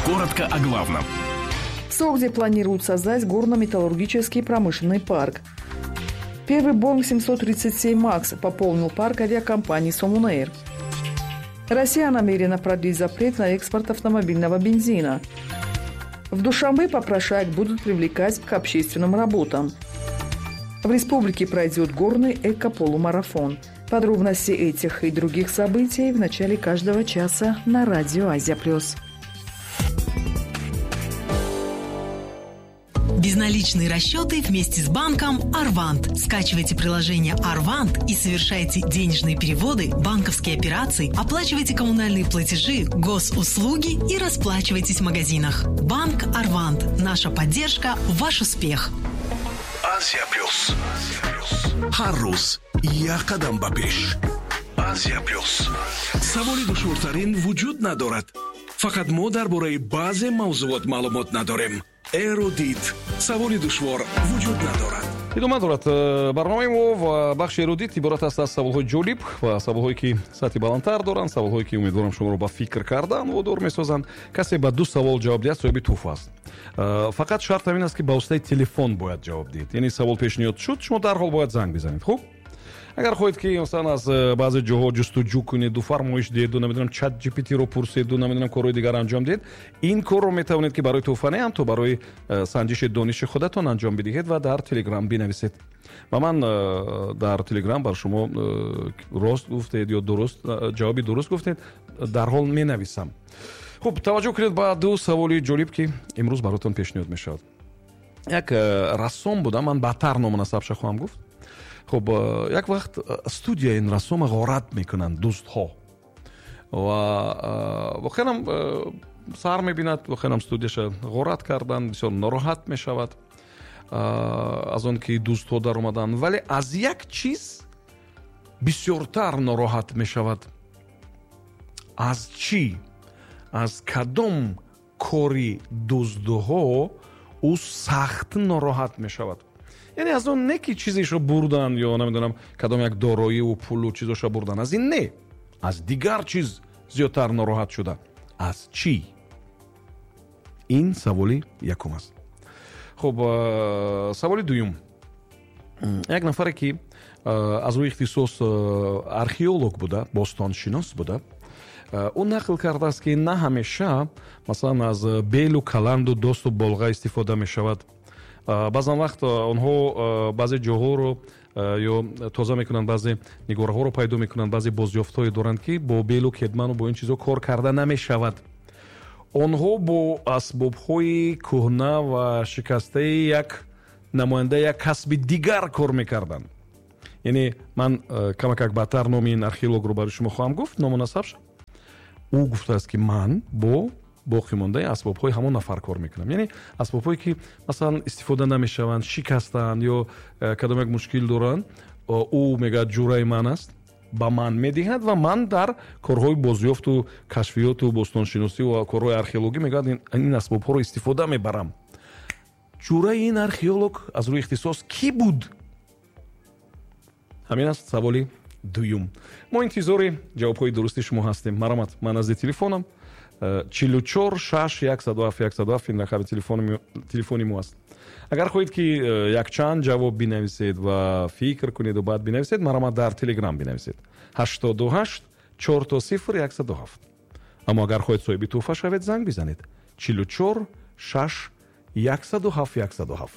Коротко о главном. В Согде планируют создать горно-металлургический промышленный парк. Первый Боинг 737 «Макс» пополнил парк авиакомпании «Сомон Эйр». Россия намерена продлить запрет на экспорт автомобильного бензина. В Душанбе попрошаек будут привлекать к общественным работам. В республике пройдет горный эко-полумарафон. Подробности этих и других событий в начале каждого часа на радио «Азия Плюс». Безналичные расчеты вместе с банком «Арвант». Скачивайте приложение «Арвант» и совершайте денежные переводы, банковские операции, оплачивайте коммунальные платежи, госуслуги и расплачивайтесь в магазинах. Банк «Арвант». Наша поддержка – ваш успех. Азия Плюс. Ҳар рӯз як қадам ба пеш. Азия Плюс. Саволи душвортарин вуҷуд надорад. Фақат мо дар бораи баъзе мавзуот маълумот надорем. Эрудит. Саволи душвор вуҷуд надорад. Идома дорад барномаи мо ва бахши эрудит иборат аст аз саволҳои ҷолиб ва саволҳое, ки сатҳи баландтар доранд, саволҳое, ки умедворам, шуморо ба фикр кардан водор месозанд. Касе ба ду савол ҷавоб диҳад, соҳиби тӯҳфа аст. Фақат шарт ҳамин аст, ки ба воситаи телефон бояд ҷавоб диҳед, яъне савол пешниҳод шуд, шумо дарҳол бояд занг бизанед. Хуб, агар хоҳед, ки масалан аз баъзе ҷоҳо ҷустуҷӯ кунеду фармоиш диҳеду, намедонам, чат GPT-ро пурседу, намедонам, корҳои дигар анҷом диҳед, ин корро метавонед, ки барои тӯҳфа не, ҳам то барои санҷиши дониши худатон анҷом бидиҳед ва дар Телеграм бинависед ва ман дар Телеграм бар шумо рост гуфтед ё дуруст ҷавоби дуруст гуфтед, дарҳол менависам. Хуб, таваҷҷӯҳ кунед ба ду саволи ҷолиб, ки имрӯз баротон пешниҳод мешавад. Як рассом буда, ман баъдтар ному насабша хоҳам гуфт. Хуб, як вақт студияи ин рассома ғорат мекунанд дӯстҳо ва воқеанам сар мебинад, воқеанам студияша ғорат карданд. Бисёр нороҳат мешавад аз он ки дӯстҳо даромаданд, вале аз як чиз бисёртар нороҳат мешавад. Аз чӣ? Аз кадом кори дуздҳо ӯ сахт нороҳат мешавад? Яъне аз он не, ки чизешро бурдан ё, намедонам, кадом як дороиву пулу чизоша бурдан, аз ин не, аз дигар чиз зиёдтар нороҳат шуда. Аз чӣ? Ин саволи якум аст. Хуб, саволи дуюм. Як нафаре, ки аз рӯи ихтисос археолог буда, бостоншинос буда, ӯ нақл кардааст, ки на ҳамеша, масалан, аз белу каланду досту болға истифода мешавад. Баъзан вақт онҳо баъзе ҷоҳоро ё тоза мекунанд, баъзе нигораҳоро пайдо мекунанд, баъзе бозёфтҳое доранд, ки бо белу кедману бо ин чизҳо кор карда намешавад. Онҳо бо асбобҳои кӯҳна ва шикастаи як намояндаи як касби дигар кор мекарданд. Яъне ман камакак баъдтар номи ин археологро барои шумо хоҳам гуфт, ному насабша. Ӯ гуфтааст, ки ман бо боқимондаи асбобҳои ҳамон нафар кор мекунам, яъне асбобҳое, ки масалан истифода намешаванд, шикастаанд ё кадом як мушкил доранд. Ӯ мегӯяд, ҷураи ман аст, ба ман медиҳад ва ман дар корҳои бозёфту кашфиёту бостоншиносӣ ва корҳои археологӣ, мегӯяд, ин асбобҳоро истифода мебарам. Ҷураи ин археолог аз рӯи ихтисос кӣ буд? Ҳамин аст саволи дуюм. Мо интизори ҷавобҳои дурусти шумо ҳастем. Марамат, ман назди телефонам. 44 6 107 107, ин рақами телефони мо аст. Агар хоҳед, ки якчанд ҷавоб бинависед ва фикр кунеду баъд бинависед, марамат, дар Телеграм бинависед: 88 4 0 107. Аммо агар хоҳед соҳиби тӯҳфа шавед, занг бизанед: 44 6 107 107.